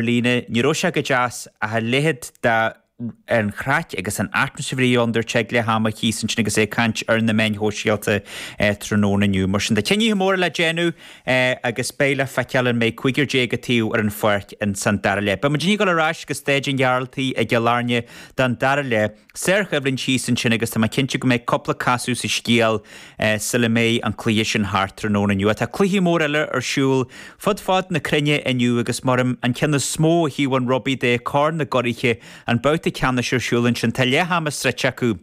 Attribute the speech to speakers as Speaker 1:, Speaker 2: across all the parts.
Speaker 1: Líne, ní raibh sé go deas ach a leithéid de an chraic agus an atmaisféar a bhí ann, dúirt sé ag leath ama thíos ansin agus é ag caint ar na meáin shóisialta tráthnóna inniu. Mar sin, tá cinnithe móra le déanamh agus beidh le feiceáil an mbeidh 15 an taobh ar an pháirc ins an dara leath. Beidh muid ag dul ar ais go Staid an Ghearaltaigh i gCill Airne don dara leath. Sárchoimhlint thíos ansin agus tá mé cinnte go mbeidh cúpla casadh sa scéal sula mbeidh an cluiche sin thart tráthnóna inniu. Tá cluichí móra eile ar siúl fud fad na cruinne inniu agus mar an ceann is mó ó thaobh an rugbaí de, Corn na gCuraithe, an babhta ceannais ar siúl ansin. Tá leath ama sroichte acu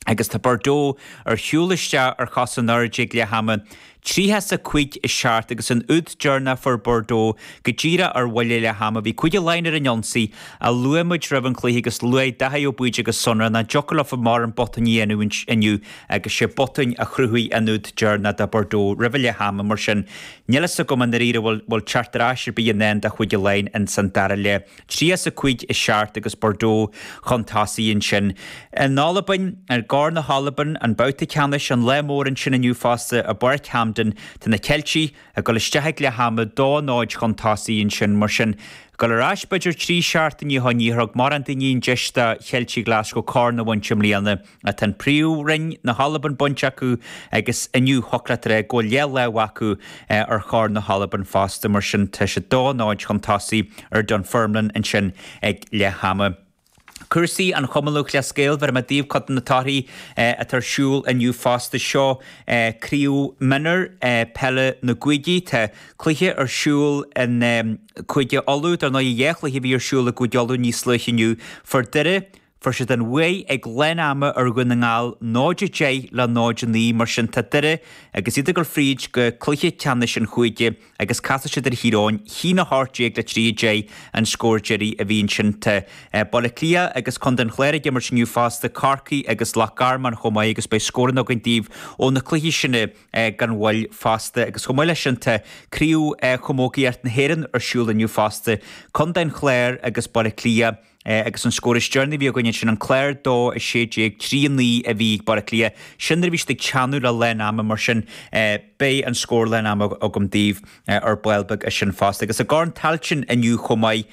Speaker 1: agus tá Bordeaux ar shiúl isteach ar chos in airde ag leath ama. 30 is 5 7 agus an úd deireanach a fuair Bordeaux go díreach ar bhuille leath ama. Bhí Cúige Laighean ar an ionsaí a luaigh muid roimh an chluiche agus luaigh Dáithí Ó Baoide go sonrath nach dtiocfadh leofa mórán botúin a dhéanamh inniu agus sé botún a chruthaigh an úd deireanach do Bordeaux roimh leath ama. Mar sin, níl fhios agam i ndáiríre an bhfuil teacht ar ais ar bith i ndán do Chúige Laighean ins an dara leath. 30 is 5 7 agus Bordeaux chun tosaigh ansin. In Albain, i gCorn na hAlban, an babhta ceannais, an lá mór ansin inniu fosta i bPáirc Hampden, tá na Ceiltigh ag dul isteach ag leath ama, 2 0 chun tosaigh ansin. Mar sin, dul ar ais b'fhéidir 3 seachtainí ó shin, níor thug mórán daoine an deis do Cheiltigh Ghlaschú corn a bhaint i mbliana. Tá an Príomhroinn na hAlban bainte acu agus inniu thiocfadh leat a rá go bhfuil leathlámh acu ar Chorn na hAlban fosta, mar sin tá siad 2 0 chun tosaigh ar Dunfermline ansin ag leath ama. Cúrsaí an Chumann Lúthchleas Gael, bhéarfaidh mé daoibh cuid de na torthaí atá ar siúl inniu fosta. Seo Craobh Mionúr Peile na gCúigí. Tá cluiche ar siúl in Cúige Uladh, dar ndóigh dhá chluiche a bhí ar siúl i gCúige Uladh níos luaithe inniu. Fuair Doire Fuair siad an bhuaidh ag lán ama ar Dhún na nGall 0-10 le 0-9, mar sin tá Doire agus iad ag dul fríd go cluiche ceannais an chúige agus casfaidh siad ar Thír Eoghain, 1-18 le 3-10 an scór deiridh a bhí ansin. Tá Baile Átha Cliath agus Contae an Chláir ag imirt inniu fosta, Corcaigh agus Loch Garman chomh maith agus beidh scóranna againn daoibh ó na cluichí sin gan mhoill fosta. Agus chomh maith leis sin tá Craobh Chamógaíocht na hÉireann ar siúl inniu fosta, Contae an Chláir agus Baile Átha Cliath. Agus an scór is deireanaí a bhí againn ansin, an Clár 2, 16, 3, 9 a bhí ag Baile Átha Cliath. Sin nuair a bhí siad ag teannadh le lán ama, mar sin beidh an scór lán ama agam daoibh ar ball beag as sin fosta. Agus i gCorn Tailteann inniu chomh maith,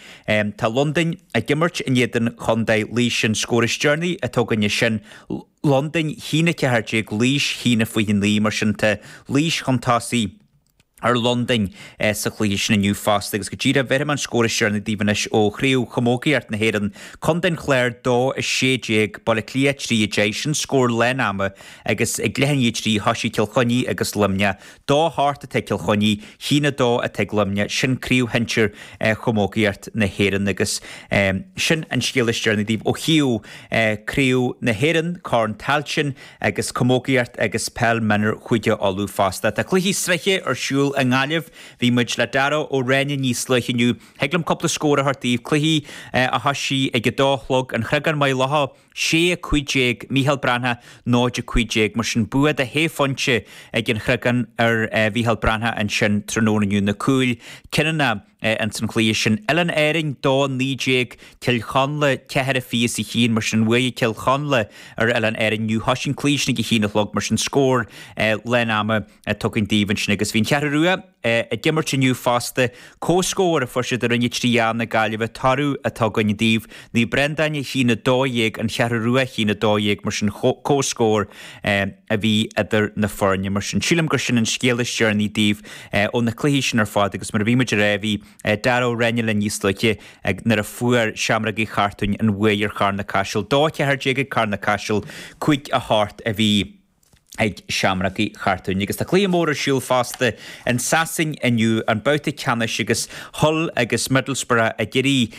Speaker 1: tá Londain ag imirt in éadan Chontae Laois. An scór is deireanaí atá againn ansin, Londain 1, 14, Laois 1, 29, mar sin tá Laois chun tosaigh. ar Londain sa chluiche sin inniu fosta agus go díreach bhéarfaidh mé an scór is deireanaí daoibh anois ó Chraobh Chamógaíocht na hÉireann, Contae an Chláir 2, 16, Baile Átha Cliath 3, 10, sin scór lán ama agus ag leath i ndiaidh a 3 thoisigh Cill Chainnigh agus Luimneach. 2, 8 atá ag Cill Chainnigh, 1, 2 atá ag Luimneach, sin Craobh Shinsir Chamógaíocht na hÉireann agus sin an scéal is deireanaí daoibh ó thaobh Craobh na hÉireann, Corn Tailteann. agus camógaíocht agus peil mionúir Chúige Uladh fosta. Tá cluichí sraithe ar siúl i nGaillimh. Bhí muid le Dara Ó Ráinne níos luaithe inniu. Thig liom cúpla scór a thabhairt daoibh. Cluichí a thoisigh ag a dó a chlog, An Chreagán Maigh Locha 6, 15, Mícheál Breathnach 0, 15. Mar sin bua de shé phointe ag An Chreagán ar Mhícheál Breathnach ansin tráthnóna inniu. Na cúil cinniúnacha. ins an chluiche sin. Oileáin Árainn 2, 19, Cill Chonla 4, 21, mar sin bhuaigh Cill Chonla ar Oileáin Árainn inniu. Thoisigh an cluiche sin ag a haon a chlog, mar sin scór lán ama tugtha daoibh ansin agus bhí an Cheathrú Rua ag imirt inniu fosta. Comhscór a fuair siad i Roinn 3A na Gaillimhe, toradh atá againn daoibh. Naomh Breandáin 1, 12, An Cheathrú Rua 1, 12, mar sin comhscór a bhí idir na foirne. Mar sin sílim gur sin an scéal is deireanaí daoibh. ó na cluichí sin ar fad agus mar a bhí muid a rá bhí Dara Ó Ráinne linn níos luaithe nuair a fuair Seamrógaí Chartúin an bhuaidh ar Charna Caiseal. 2 14 ag Carna Caiseal, 5 8 a bhí ag Seamrógaí Chartúin. Agus tá cluiche mór ar siúl fosta in Sasain inniu, an babhta ceannais agus Hull agus Middlesbrough ag iarraidh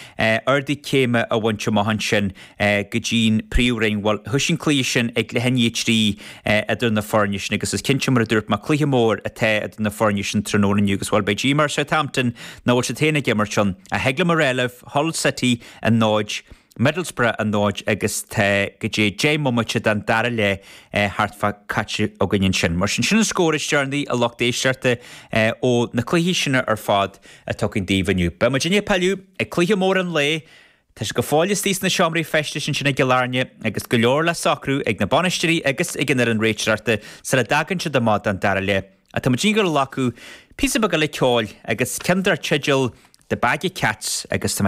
Speaker 1: ardú céime a bhaint amach ansin. go dtí'n Príomhroinn. Bhuel, thoisigh an cluiche sin ag leath i ndiaidh a 3 idir na foirne sin agus is cinnte, mar a dúirt mé, cluiche mór atá idir na foirne sin tráthnóna inniu agus, bhuel, beidh díomá ar Southampton nach bhfuil siad féin ag imirt ann. Ach thig liom a rá libh, Hull City 0, Middlesbrough 0 agus tá go dtí 10 mbomaite den dara leath thart fá caite againn ansin. Mar sin, sin an scór is deireanaí, a lucht éisteachta, ó na cluichí sin ar fad atá againn daoibh inniu. Beidh muid ag pilleadh ag cluiche mór an lae, Tá siad go fóill istigh sna seomraí feistis ansin i gCill Airne agus go leor le socrú ag na bainisteoirí agus ag an fhoireann réiteoireachta sula dtagann siad amach don dara leath. Ach tá muid ag dul a ghlacadh píosa beag eile ceoil agus ceann dar teideal. The Bag of Cats agus tá.